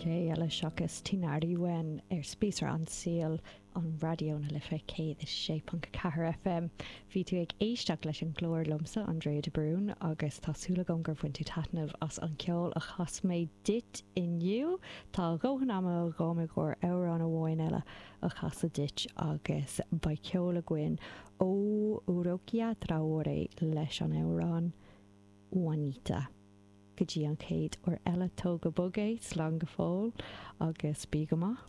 Cé eile seachas Tinariwen ar Spíosra an tSaoil ar Raidió na Life 106.4 FM. Bhí tú ag éisteacht leis an gclár liomsa, Andrea de Brún, agus tá súil agam gur bhain tú taitneamh as an ceol a chas mé duit inniu. Tá a dhóthain ama agam i gcomhair amhrán amháin eile a chasadh duit agus beidh ceol againn ó Rokia Traoré leis an amhrán Juanita. Go dtí an chéad uair eile, tóg go bog é, slán go fóill agus bí go maith.